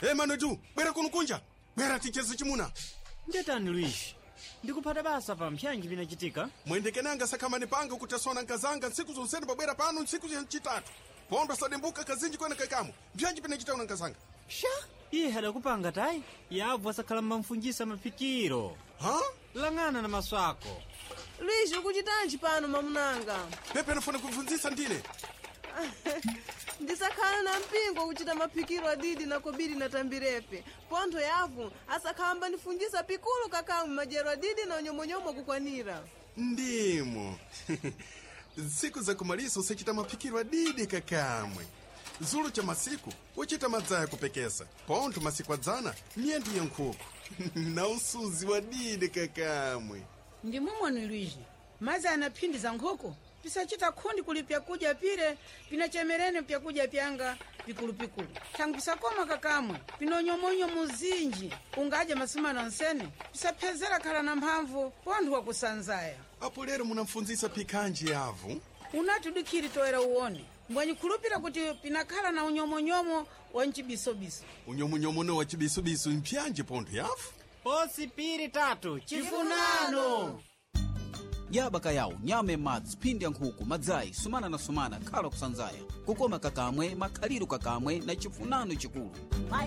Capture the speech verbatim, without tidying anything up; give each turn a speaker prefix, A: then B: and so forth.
A: Hey, manotu bwera kuno kunja, bwera ticheze chimuna.
B: Ndetani Luishi, ndikuphata basa pa mpyanji pinachitika.
A: Mwendekenanga sakhamani panga kuti asona nkazanga ntsiku zonsene pabwera pano ntsiku yamchitatu pondo sadembuka kazinji kwene kaikamo. Mpyanji pinachita una nkazanga?
B: Sha, iye adakupanga tayi yabvo asakhala mmamfunjisa maphikiro.
A: Ha.
B: Lang'ana na maso ako.
C: Luishi, ukuchitanji pano mamunanga?
A: Pepe anafuna kubvunzisa ndine.
C: Ndisakhala na mpingo kuchita maphikiro adidi na kobiri na tambirepe pontho yavu asakhamba nifunjisa pikulu kakamwe madyero adidi na unyomonyomo kukwanira.
A: Ndimo ntsiku zakumaliso usachita maphikiro adidi kakamwe. Zulu cha masiku uchita madzaya kupekesa, pontho masiku adzana miyendo ya nkhuku na usuzi wa didi kakamwe.
D: Ndi momwe Luishi mazi anaphindiza nkhuku pisachita khundi kuli pyakudya pire pinachemerene pyakudya pyanga pikulupikulu thangwi pisakoma kakamwe pinonyomonyo zinji ungadya masumana onsene pisaphezera khala na mphamvu pontho wakusanzaya.
A: Apo lero munamfunzisa phikanji yavu?
D: Unati udikhiri toera uwone mbwanyikhulupira kuti pinakhala na unyomonyomo wa mchibisobiso.
A: Unyomonyomo wa chibisubisu mpyanji pontho yavu?
B: Posi piri tatu chifunano.
E: Yaba yawo nyama madzi, phindi ya nkhuku, madzayi, sumana na sumana, khala kusanzaya, kukoma kakamwe, makhaliro kakamwe na chifunano chikulu.